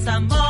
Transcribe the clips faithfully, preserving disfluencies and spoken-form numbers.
pensan moi.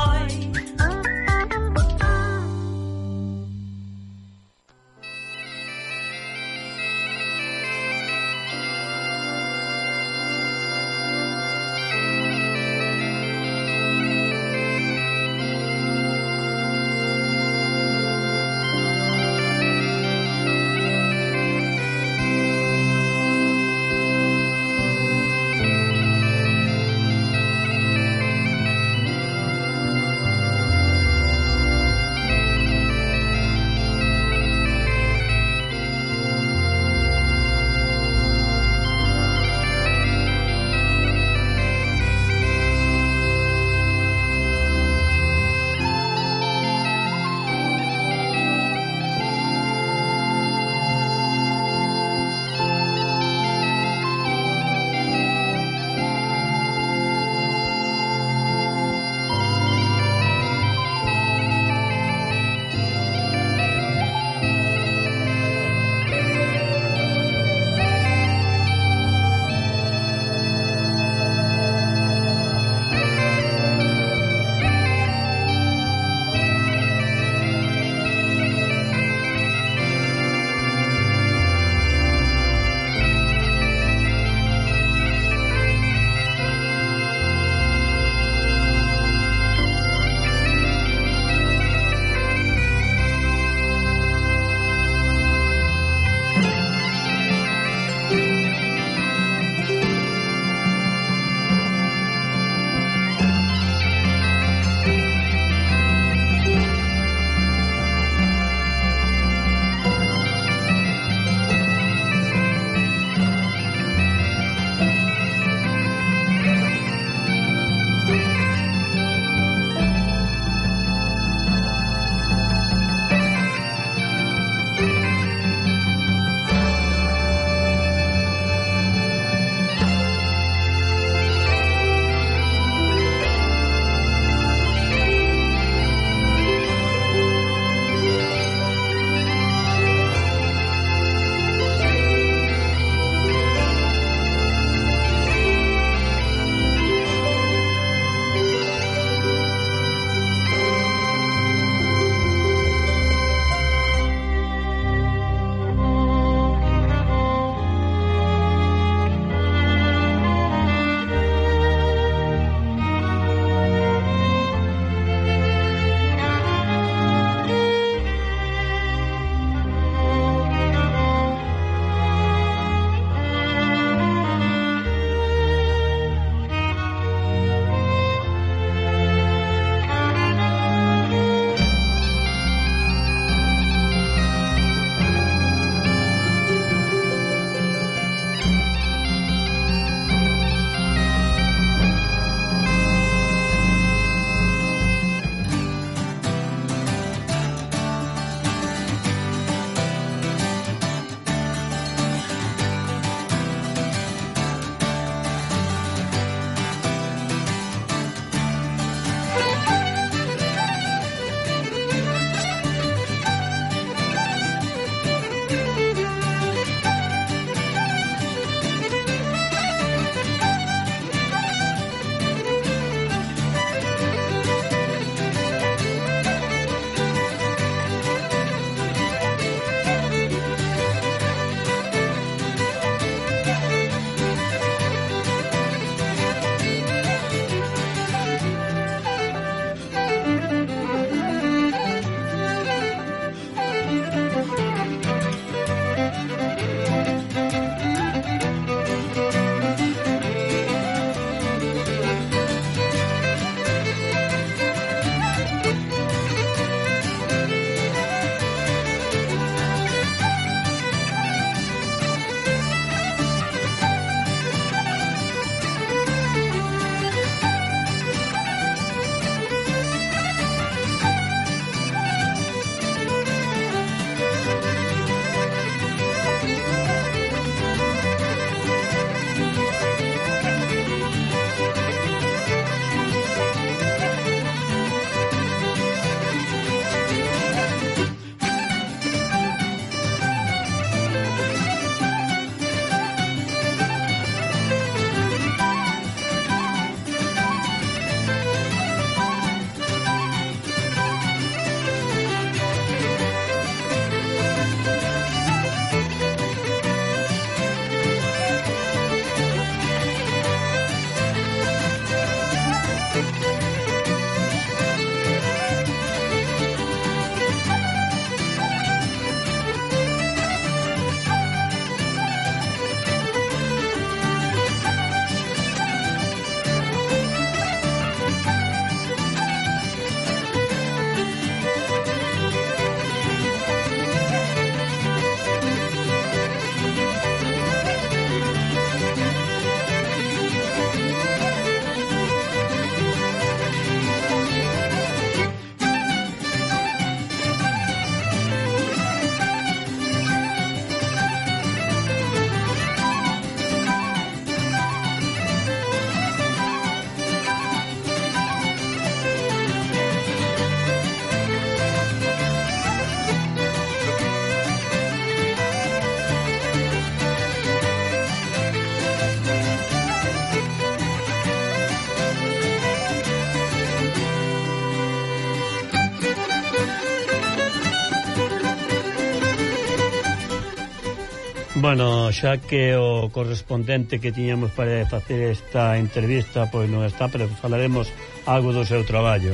Bueno, xa que o correspondente que tiñamos para facer esta entrevista pois non está, pero falaremos algo do seu traballo.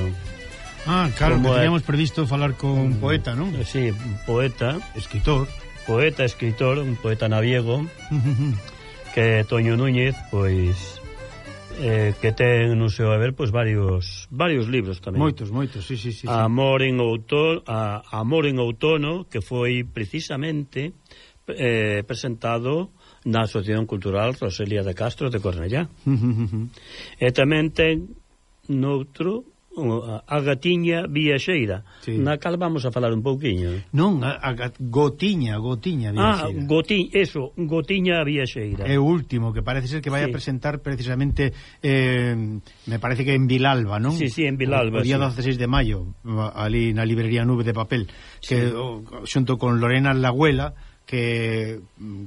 Ah, claro, Como que teníamos é... previsto falar con un poeta, non? Sí, un poeta, escritor, poeta, escritor, un poeta naviego, que é Toño Núñez, pois eh, que ten no seu haber pois varios varios libros tamén. Moitos, moitos, sí, sí, sí. Amor en outono, a, Amor en outono, que foi precisamente eh, presentado na Asociación Cultural Rosalía de Castro de Cornellá. E tamén ten noutro a Gatiña Viaxeira, sí, na cal vamos a falar un pouquiño. Non, a, a Gotiña, Gotiña Viaxeira. Ah, Goti, eso, Gotiña Viaxeira. É o último, que parece ser que vai sí. a presentar precisamente, eh, me parece que en Vilalba, non? Sí, sí, en Vilalba. O, o día sí. dieciséis de maio, ali na librería Nube de Papel, que sí. o, xunto con Lorena Lagüela, que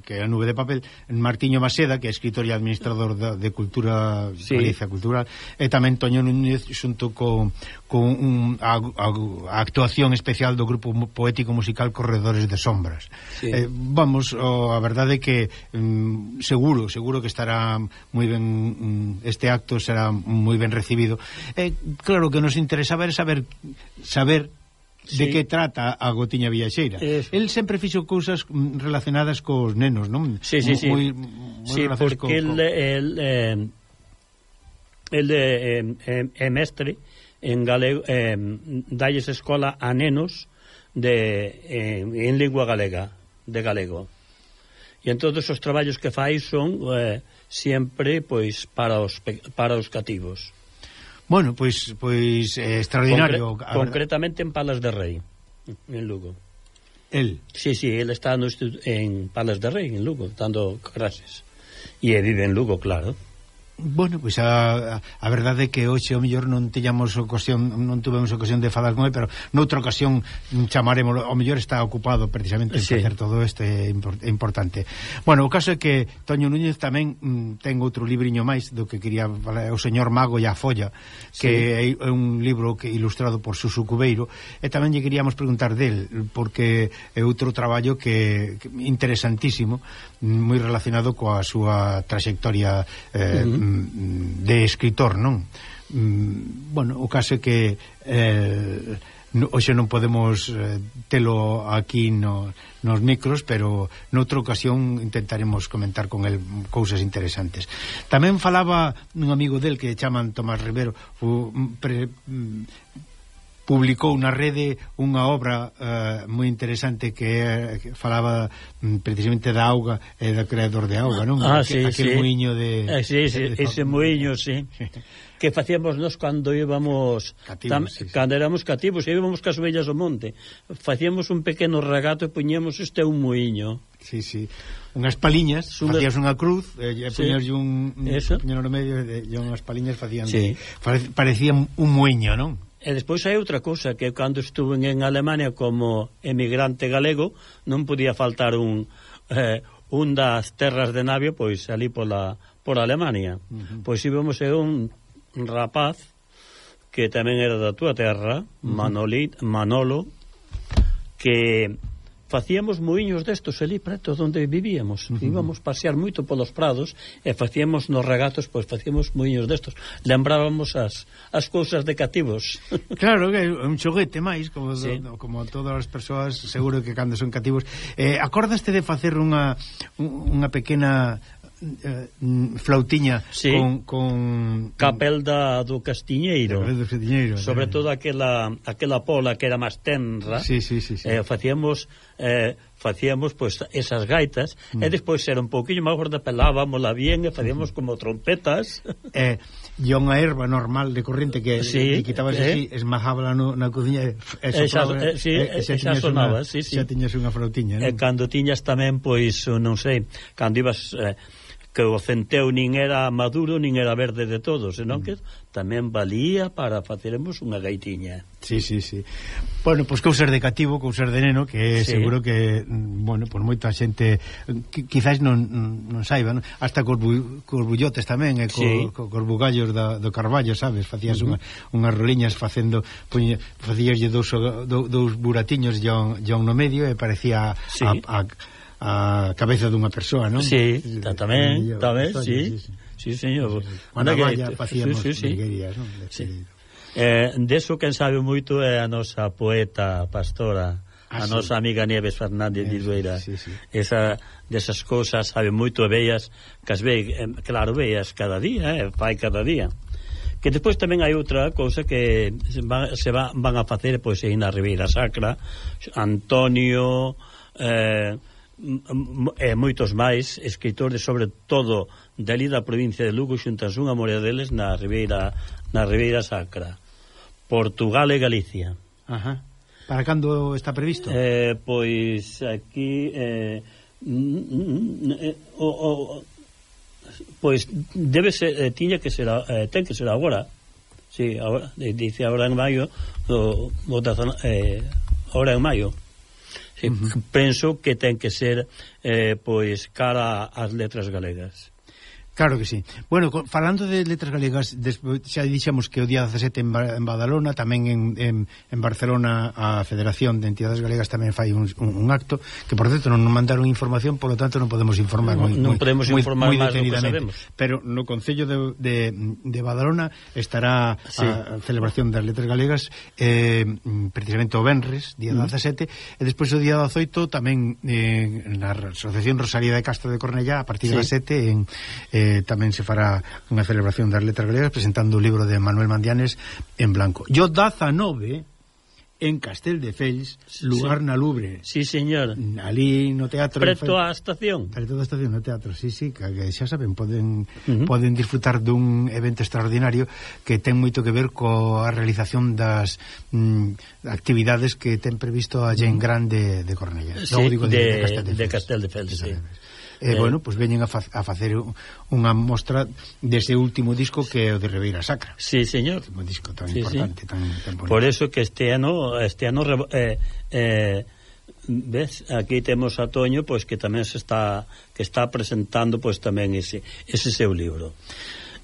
que a Nube de Papel, Martiño Maseda, que é escritor e administrador de, de Cultura, sí. Galicia Cultural, e tamén Toño Núñez xunto con, con un, a, a, a actuación especial do grupo poético musical Corredores de Sombras. Sí. Eh, vamos, oh, a verdade é que mm, seguro, seguro que estará moi ben, mm, este acto será moi ben recibido. Eh, claro, que nos interesaba era saber saber de sí. que trata a Gotiña Viaxeira. Eso. El sempre fixo cousas relacionadas cos nenos, non? Sí, sí, sí. Moi, moi sí, porque co, el, co... el, eh, el eh, eh, é mestre en galego, eh, dalles escola a nenos de, eh, en lingua galega, de galego. E en todos os traballos que fai son eh, sempre pois para os, para os cativos. Bueno, pois pois eh, extraordinario. Concre concretamente en Palas de Rei, en Lugo. El? Sí, sí, el está no en Palas de Rei, en Lugo, dando clases. E vive en Lugo, claro. Bueno, pois a, a verdade é que hoxe ao mellor non teñamos ocasión, non tuvemos ocasión de falar con ele, pero noutra ocasión chamaremos, ao mellor está ocupado precisamente en sí. facer todo isto, é importante. Bueno, o caso é que Toño Núñez tamén mm, ten outro libriño máis do que quería falar, o Señor Mago e a Folla, que sí. é un libro que ilustrado por Suso Cubeiro, e tamén lle queríamos preguntar del, porque é outro traballo que, que interesantísimo, moi relacionado coa súa trayectoria eh, uh-huh. de escritor, non? Bueno, o caso é que eh, hoxe non podemos eh, telo aquí no, nos micros, pero noutra ocasión intentaremos comentar con el cousas interesantes. Tamén falaba un amigo del que chaman Tomás Rivero, o, pre, publicou na rede unha obra uh, moi interesante que, é, que falaba um, precisamente da auga e da creador de auga, non? Ah, Aquel, sí, aquel sí. muiño de... Eh, sí, sí, de, de ese muiño, sí. Que facíamos nós cando íbamos cativos, tam, sí, sí. cando éramos cativos e íbamos cas ovellas ao monte. Facíamos un pequeno regato e puñemos este un muiño. Sí, sí. Unhas paliñas, Sula... facías unha cruz e sí. puñas un, un puño no medio e, e unhas paliñas facían sí. de, parecían un muiño, non? E despois hai outra cousa, que cando estuve en Alemania como emigrante galego non podía faltar un eh, un das terras de Navio, pois ali pola, por Alemania. Uh-huh. Pois íbamos a un rapaz que tamén era da túa terra, uh-huh. Manolit, Manolo, que facíamos muiños destos ali preto onde vivíamos. Uh-huh. Íbamos pasear moito polos prados e facíamos nos regatos, pois facíamos muiños destos. Lembrábamos as, as cousas de cativos. Claro, que é un xoguete máis, como, sí. do, como todas as persoas, seguro que cando son cativos. Eh, acordaste de facer unha unha pequena eh, flautiña sí. con, con Capelda do Castiñeiro, do Castiñeiro sobre eh. todo aquela aquela pola que era máis tenra. Sí, sí, sí, sí. Eh, facíamos eh, facíamos pois pues, esas gaitas mm. e despois era un pouquiño máis gorda, pelábamosla bien e facíamos como trompetas. Eh, e unha erva normal de corrente que sí, quitabas eh. así, esmajábala no, na cociña e, e sopraba, eh, sí, e, xa, xa sonaba, una, sí, sí. Xa tiñas unha flautiña, non? E cando tiñas tamén, pois, non sei, cando ibas... Eh, que o centeo nin era maduro nin era verde de todo, senón mm. que tamén valía para faceremos unha gaitiña. Sí, sí, sí. Bueno, pois pues, cousas de cativo, cousas de neno, que sí. seguro que, bueno, por moita xente que, quizás non, non saiba, non? Hasta cos, bu, cos bullotes tamén, e co, sí. co, cos bugallos da, do Carballo, sabes? Facías uh -huh. unha, unhas roliñas facendo, facíaslle dous, dous, dous buratiños ya no medio e parecía sí. a, a a cabeza dunha persoa, non? Sí, tamén, tamén, sí. Sí, señor. Cando vaya facíamos virguerías, non? Eh, deso quen sabe moito é a nosa poeta pastora, ah, a sí. nosa amiga Nieves Fernández de Idueira. Sí, sí. Esa desas cousas sabe moito e bellas, que as ve, eh, claro, bellas cada día, eh, fai cada día. Que despois tamén hai outra cousa que se, va, se va, van a facer pois aí na Ribeira Sacra, Antonio eh, e moitos máis escritores, sobre todo dali da provincia de Lugo, xuntas unha morea deles na Ribeira na Ribeira Sacra, Portugal e Galicia. Ajá. Para cando está previsto? Eh, pois aquí eh, eh, o, o, pois debe ser, eh, tiña que ser eh, ten que ser agora. Sí, agora, dice agora en maio, o, o da, eh, agora en maio. Sí, uh-huh. Penso que ten que ser eh, pois cara ás letras galegas. Claro que sí. Bueno, falando de letras galegas, despois, xa dixemos que o día dezasete en, ba en Badalona, tamén en, en, en Barcelona a Federación de Entidades Galegas tamén fai un, un, un acto, que por certo non nos mandaron información, polo tanto non podemos informar non, moi, non podemos moi, informar moi máis do que sabemos. Pero no Concello de, de, de Badalona estará sí. a celebración das letras galegas eh, precisamente o venres, día dezasete, mm. e despois o día dezoito tamén eh, na Asociación Rosalía de Castro de Cornellá, a partir sí. das sete en eh, Eh, tamén se fará unha celebración das letras galegas presentando o libro de Manuel Mandianes en blanco. Yo dezanove en Casteldefels, lugar sí. na Lubre. Sí, señor. Ali no teatro. Preto á estación. Preto da estación, no teatro, sí, sí, que xa saben, poden uh-huh. poden disfrutar dun evento extraordinario que ten moito que ver coa realización das mm, actividades que ten previsto a Gen Grande de Cornellá. Sí, no, digo, de, de Casteldefels. De Casteldefels, sí. Eh, eh, bueno, pois pues veñen a, fa a facer unha mostra dese último disco que é o de Ribeira Sacra. Sí, señor. Un disco tan sí, importante, sí. tan, tan bonito. Por eso que este ano este ano eh, eh, ves, aquí temos a Toño, pois pues, que tamén se está que está presentando pois pues, tamén ese ese seu libro.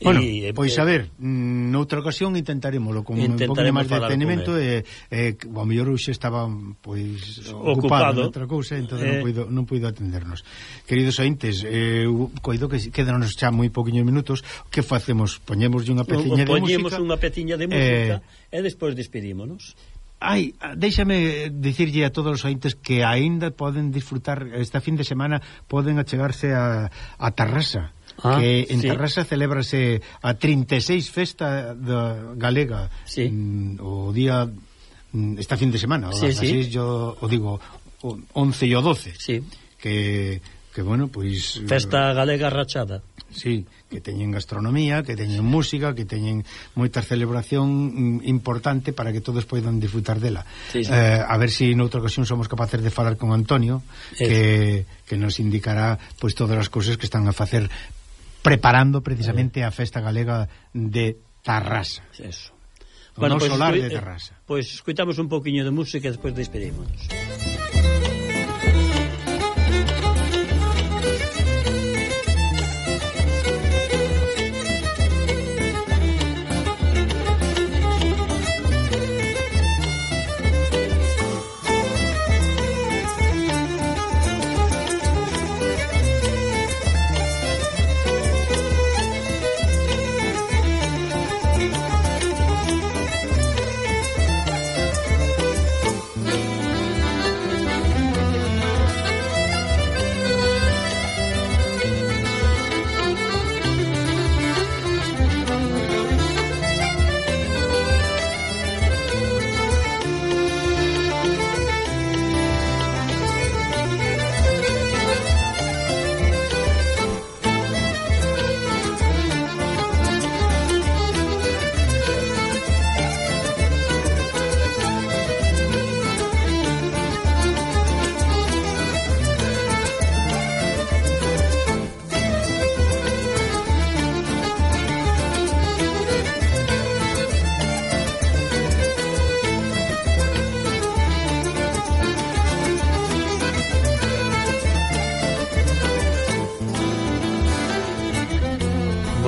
Bueno, e, pois a ver, noutra ocasión intentaremoslo con un pouco máis de detenimento e, e o mellor hoxe estaba pois ocupado, ocupado noutra cousa, entón eh... non puido non puido atendernos. Queridos ointes, eh, coido que quedanos xa moi poquinhos minutos. Que facemos? Poñémoslle unha peciña de música. Poñemos unha peciña de música eh... e despois despedímonos. Ai, déxame dicirlle a todos os ointes que aínda poden disfrutar esta fin de semana, poden achegarse a, a Tarrasa. Ah, que en sí. Tarrasa celébrase a trinta e seis festa da galega sí. mm, o día esta fin de semana o sí, sí. yo o digo o once e o doce sí. que, que bueno, pois festa galega rachada. Sí, que teñen gastronomía, que teñen música, que teñen moita celebración importante para que todos poidan disfrutar dela. Sí, sí. Eh, a ver se si noutra ocasión somos capaces de falar con Antonio, que, que nos indicará pois todas as cousas que están a facer preparando precisamente a festa galega de Tarrasa. Eso. O bueno, pues, solar de Tarrasa. Pois pues, escuitamos un poquinho de música e despois despedímonos.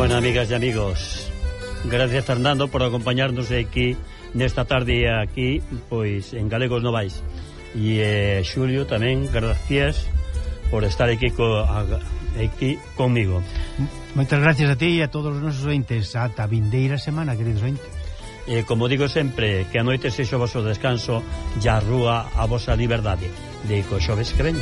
Bueno, amigas e amigos, gracias Fernando por acompañarnos aquí nesta tarde aquí, pois en Galegos Novais. E eh, Xulio tamén, gracias por estar aquí, co, aquí conmigo. Moitas gracias a ti e a todos os nosos ointes. Ata vindeira semana, queridos ointes. E como digo sempre, que a noite sexa o vosso descanso e a rúa a vosa liberdade. De co xoves que ven.